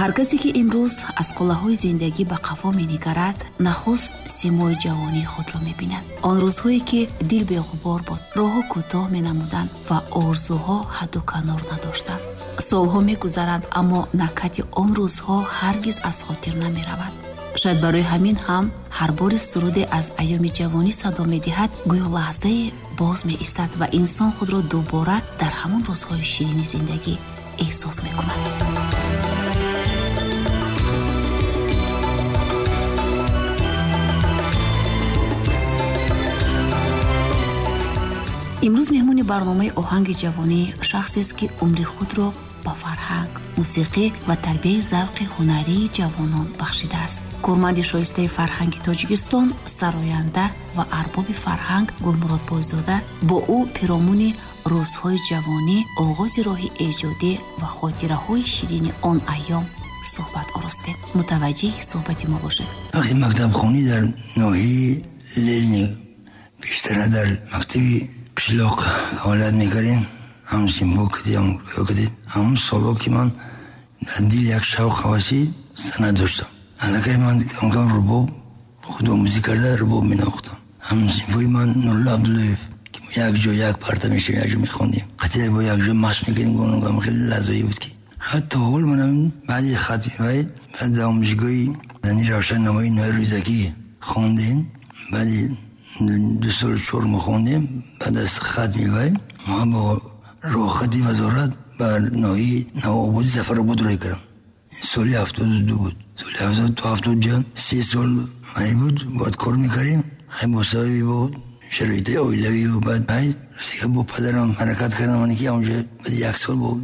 Ҳар касе ки имрӯз аз қуллаҳои зиндагӣ ба қафо менигарад, нахуст симои ҷавонии худро мебинад. Он рӯзҳое ки дил беғубор буд, роҳҳо кӯтоҳ менамуданд ва орзуҳо ҳадду канор надоштанд. Солҳо мегузаранд, аммо накҳати он рӯзҳо ҳаргиз аз хотир намеравад. Шояд барои ҳамин ҳам ҳар бори суруде аз айёми ҷавонӣ садо медиҳад, гӯё лаҳзае боз меистад ва инсон худро дубора дар ҳамон рӯзҳои ширини зиндагӣ эҳсос мекунад. Имрӯз меҳмони барномаи оҳанги ҷавонӣ шахсест, ки умри худро ба фарҳанг, мусиқӣ ва тарбияи завқи ҳунарии ҷавонон бахшидааст. Корманди шоистаи фарҳанги Тоҷикистон, сароянда ва арбоби фарҳанг Гулмурод Бойзода бо ӯ пиромуни рӯзҳои ҷавонӣ, оғози роҳи эҷодӣ ва хотираҳои ширини он айём суҳбат оростем. Мутаваҷҷеҳи суҳбати мо бошед. Вақти мактабхонӣ дар ноҳияи Ленин, бештара дар мактаби қишлоқ фаъолият мекардем. Ҳам симбо кардем, ҳам кардем. Ҳамон солҳо ки ман дар дил як шавқ ҳаваси санъат доштам. Аллакай ман кам-кам рубоб худомӯзӣ карда рубоб менавохтам. Ҳам симбои ман Нурулло Абдуллоев, ки мо як ҷо як парта мешавем, як ҷо мехондем. Қатъиян бо як ҷо машқ мекардем, гуфтам хеле лаҳзаҳое буд ки ҳатто ҳол манам баъди хатми вай, баъд дар омӯзишгоҳи Зани Равшан намои ноҳияи Рӯдакӣ хондем. Баъди 2 сол 4 моҳ хондем. Баъд аз хатми вай мо бо роҳхати вазорат ба ноҳияи Навободи Зафаробод рӯй кардам. Соли 72 буд. Соли ҳафтоду то ҳафтоду ду 3 сол вай буд, бояд кор мекардем. Хай бо сабаби бо шароити оилавию баъд вай сига бо падарам ҳаракат кардам, ане ки онҷо баъд 1 сол бо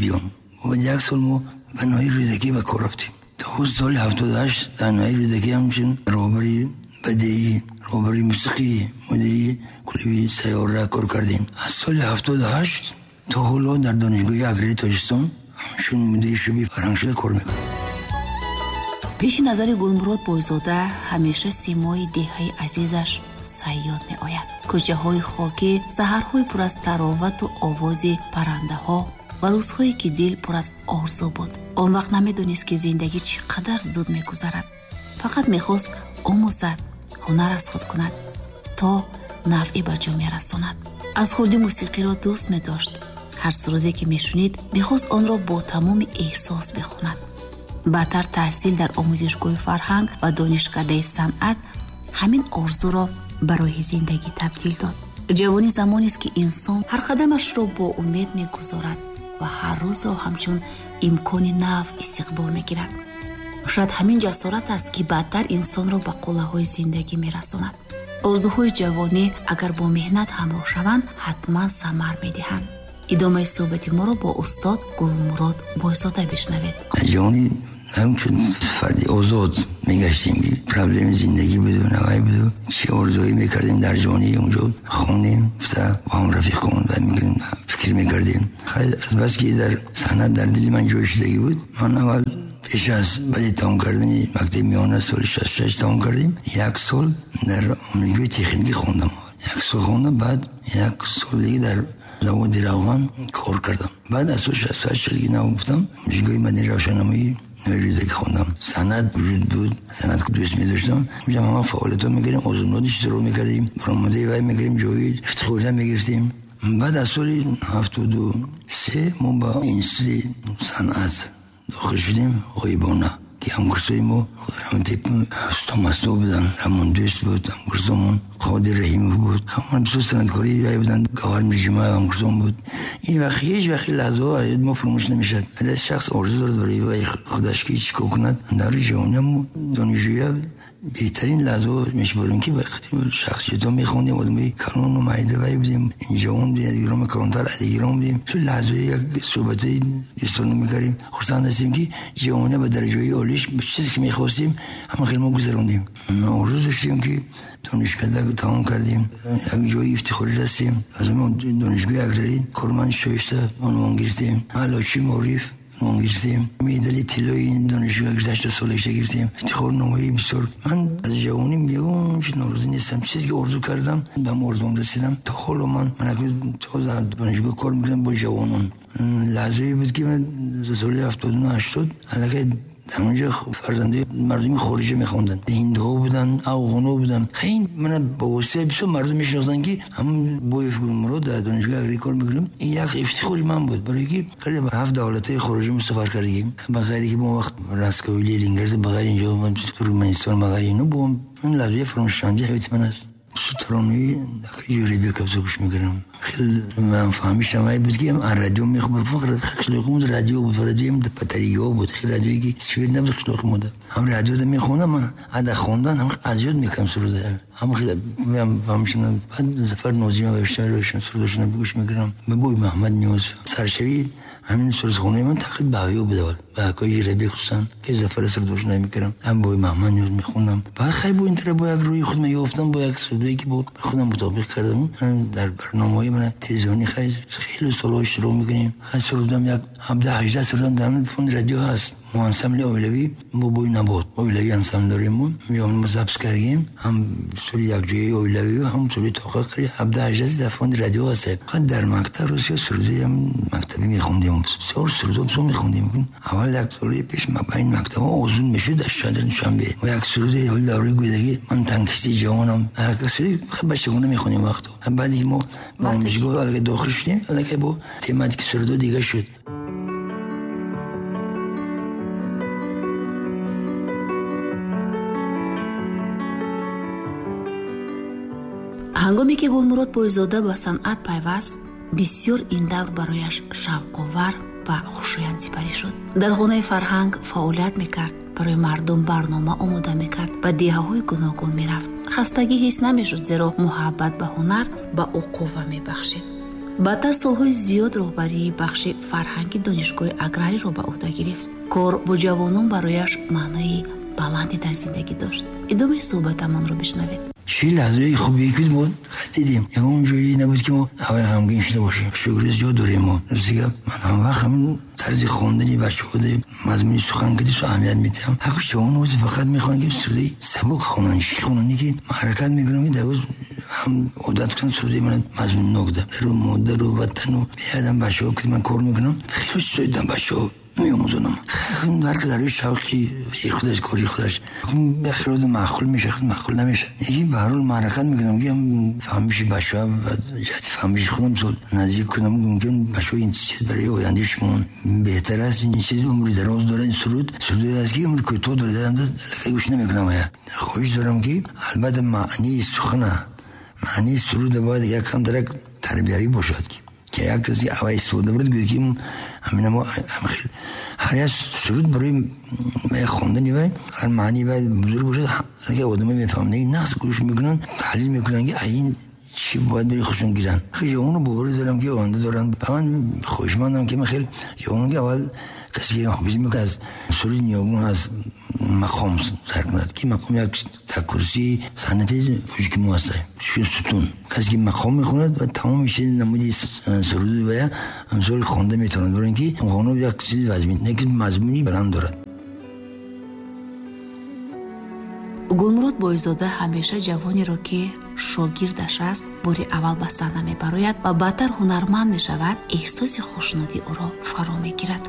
биём. Баъд 1 сол мо ба ноҳияи Рӯдакӣ ба кор рафтем. То худ соли 78 дар ноҳияи Рӯдакӣ ҳамчун роҳбари бадеӣ, роҳбари мусиқӣ, мудири клуби Сайёра кор кардем. Аз соли 78 то ҳоло дар Донишгоҳи аграрии Тоҷикистон ҳамчун мудири шӯъбаи фарҳанг шуда кор мекунам. Пеши назари Гулмурод Бойзода ҳамеша симои деҳаи азизаш Сайёд меояд. Кӯчаҳои хокӣ, саҳарҳои пур аз таровату овози паррандаҳо ва рӯзҳое ки дил пур аз орзу буд. Он вақт намедонист, ки зиндагӣ чӣ қадар зуд мегузарад. Фақат мехост омӯзад, ҳунар аз худ кунад, то навъе ба ҷомеа расонад. Аз хурдӣ мусиқиро дӯст медошт. Ҳар суруде ки мешунид, мехост онро бо тамоми эҳсос бихонад. Баъдтар таҳсил дар омӯзишгоҳи фарҳанг ва донишкадаи санъат ҳамин орзуро ба роҳи зиндагӣ табдил дод. Ҷавонӣ замонест, ки инсон ҳар қадамашро бо умед мегузорад ва ҳар рӯзро ҳамчун имкони нав истиқбол мегирад. Шояд ҳамин ҷасорат аст, ки баъдтар инсонро ба қуллаҳои зиндагӣ мерасонад. Орзуҳои ҷавонӣ агар бо меҳнат ҳамроҳ шаванд, ҳатман самар медиҳанд. Идомаи суҳбати моро бо устод Гулмурод Бойзода бишнавед. Ҷавонӣ ҳамчун фарди озод мегаштем, ки проблеми зиндагӣ буду навай буду, чӣ орзуҳое мекардем дар ҷавонӣ, онҷо хондем, гуфта бо ҳам рафиқон ва мекардем, фикр мекардем. Хайр, аз бас ки дар санъат дар дили ман ҷой шудагӣ буд, ман аввал пеш аз баъди тамом кардани мактаби миёна соли 66 тамом кардем, 1 сол дар омӯзишгоҳи техникӣ хондам. 1 сол хондам, баъд 1 сол дига дар заводи равған кор кардам. Баъд аз соли 68 шудагӣ нав гуфтам, омӯзишгоҳи мадании равшаннамоӣ ноҳияи Рӯдакӣ хондам. Санъат вуҷуд буд, санъат дӯст медоштам. Онҷо ҳама фаъолиятҳо мекардем, озмунҳо иштирок мекардем, баромадаи вай мекардем, ҷои ифтихория мегирифтем. Баъд аз соли 73 мо ба институти санъат дохил шудем, ғоибона, ки ҳамкурсои мо Раҳматип Устод Масто буданд, Рамон Дӯст буд, ҳамкурсомон Қодир Раҳимов буд, ҳамон бисёр санъаткори вай буданд, Гавҳар Мирҷумаев ҳамкурсом буд. Ин вақт ҳеҷ вақт лаҳзаҳо аз мо фаромӯш намешавад. Ҳар шахс орзу дорад барои вай худаш ки чӣ кор кунад. Дар ҷавониам донишҷӯя беҳтарин лаҳзаҳо мешуморем, ки вақте шахсиятҳо мехондем, одамои калону майда вай будем, ҷавон будем, дигарон калонтар, дигарон будем. Чун лаҳзаҳои як суҳбатҳои дӯстона мекардем. Хурсанд ҳастем, ки ҷавония ба дараҷаҳои олиш, ба чизе ки мехостем, ҳама хеле мо гузарондем. Орзу доштем, ки донишкада тамом кардем, як ҷои ифтихорӣ растем. Аз он донишгоҳи аграрӣ корманди шоиста унвон гирифтем. Аълочии маориф унвон гирифтем. Медали тиллои донишгоҳ гузашта солашта гирифтем. Ифтихорномаи бисёр. Ман аз ҷавонӣ ягон чиз норозӣ нестам. Чизе ки орзу кардам, ба ҳам орзуам расидам. То ҳоло ман акнун то дар донишгоҳ кор мекунам бо ҷавонон. لحظه‌ای بود که من سال 79 80 الکی در اونجا فرزنده مردمی خارجی میخوندن، هندوها بودن، افغان‌ها بودن. خیلی من با واسطه بسیار مردم میشناختن که همون بویف گلمراد در دانشگاه اگری کار میکنیم. این یک افتخاری من بود برای که خیلی به 7 دولت‌های خارجی ما سفر کردیم، به غیری که ما وقت رسکویلی لینگرد، به غیر اینجا من ترکمنستان، به غیر اینو با این لحظه فراموشنده حیات من است. ترانه‌ای جوری کبز گوش می‌کردم. خیلی من فهمیدم ای بود که رادیو می‌خوام فقط خیلی رادیو بود، رادیو هم باتری‌ها بود، خیلی رادیویی که سوید نبود، خیلی بود. هم رادیو رو می‌خوندم، من از خوندن هم از یاد می‌کردم سرود. هم خیلی من فهمیدم. بعد ظفر نوزی من بیشتر روشن سرودشون گوش می‌کردم. من بوی محمد نیوز سرشوی همین سرودخونه من تقریبا باقی بود اول. با کوی ربی خصوصا که ظفر سرودش نمی‌کردم. هم بوی محمد نیوز می‌خوندم. بعد خیلی بو این طرف با یک روی خود می‌افتم، با یک سرودی که با خودم مطابق کردم. در برنامه‌های من تلویزیونی خیلی خیلی سال‌ها شروع می‌کنیم. خیلی سرودم یک 17 18 سرودم در فون رادیو هست. ما انسامبل اولوی ما بوی نبود. اولوی انسامبل داریم ما. میام ما ضبط کردیم. هم سری یک جای اولوی و هم سری توقع کردیم. 17 18 در فون رادیو هست. خود در مکتب روسیا سرودی هم مکتبی می‌خوندیم. سر سرودم سو می‌خوندیم. اول یک سری پیش ما این مکتب آزمون می‌شد در شهر دوشنبه. و یک سرودی حال دوری گودگی من تنکسی جوانم. یک سری خب بچگونه می‌خونیم وقتا. بعد ما آموزشگاه الگه داخل شدیم. الگه با تماتیک سرود دیگه شد. Ҳангоме ки Гулмурод Бойзода ба санъат пайваст, бисёр ин давр барояш шавқовар ва хушоянд сипарӣ шуд. Дар хонаи фарҳанг фаъолият мекард, барои мардум барнома омода мекард, ба деҳаҳои гуногун мерафт. Хастагӣ ҳис намешуд, зеро муҳаббат ба ҳунар ба ӯ қувва мебахшид. Баъдтар солҳои зиёд роҳбарии бахши фарҳанги донишгоҳи аграриро ба ӯҳда гирифт. Кор бо ҷавонон барояш маънои баланде дар зиндагӣ дошт. Идомаи суҳбатамонро бишнавед. چه لحظه‌ای خوبی که بود دیدیم. یه جایی نبود که ما هوای غمگین شده باشیم. شکر زیاد داریم ما. روزی من هم وقت همین طرز خواندنی بچه‌ها مضمونی سخن که تو اهمیت میدم. حق جوان روز فقط میخوان که سرودی سبک خوانن، شیخ خواننی که حرکت میکنم که در روز هم عادت کنن سرودی من مضمون نگده. رو مادر و وطن و بیادم بچه‌ها که من کار میکنم. خیلی سودم بچه‌ها می‌آموزونم. خیلی هر که در روی شوقی خودش کاری خودش به خیلی معقول میشه، خیلی معقول نمیشه. یکی به هر حال حرکت میکنم که هم فهمیش بچه‌ها و جهت فهمیش خودم زود نزدیک کنم. ممکن بچه‌ها این چیز برای آینده شما بهتر است. این چیز عمری دراز داره. این سرود است که عمر کوتاه داره. دارم گوش نمیکنم. خواهش دارم که البته معنی سخن، معنی سرود باید یکم درک تربیتی باشد که یک کسی اول استفاده برد گوید که همین ما هم خیلی هر یک سرود برای خواندنی و هر معنی باید بزرگ باشد که آدم‌ها می‌فهمند. این نقص گوش میکنن، تحلیل میکنن که این چی باید برای خودشون گیرن. خیلی جوانو باور دارم که آینده دارن. به من خوشمندم که من خیلی جوانو که اول کسی که حافظی میکنه از سرود نیاگون از مقام سر کند که مقام یک تکرسی سنتی پوشکی ما هسته ستون کسی که مقام میخوند و تمام میشه نمودی سرود و یا همسال خوانده میتونند برای اینکه خانه یک چیز وزمین یک مضمونی بلند دارد. Гулмурод Бойзода ҳамеша ҷавонеро ки шогирдаш аст бори аввал ба саҳна мебарояд ва баъдтар ҳунарманд мешавад, эҳсоси хушнудӣ ӯро фаро мегирад,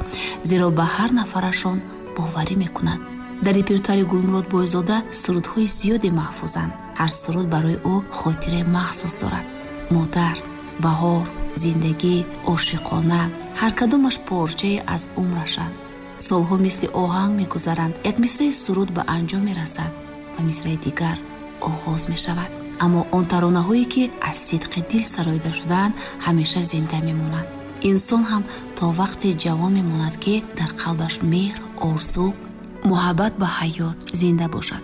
зеро ба ҳар нафарашон боварӣ мекунад. Дар репертуари Гулмурод Бойзода сурудҳои зиёде маҳфузанд. Ҳар суруд барои ӯ хотираи махсус дорад. Модар, баҳор, зиндагӣ, ошиқона, ҳар кадомаш порчае аз умрашанд. Солҳо мисли оҳанг мегузаранд. Як мисраи суруд ба анҷом мерасад ва мисраи дигар оғоз мешавад. Аммо он таронаҳое ки аз сидқи дил сароида шудаанд ҳамеша зинда мемонанд. Инсон ҳам то вақте ҷавон мемонад ки дар қалбаш меҳр, орзу, муҳаббат ба ҳаёт зинда бошад.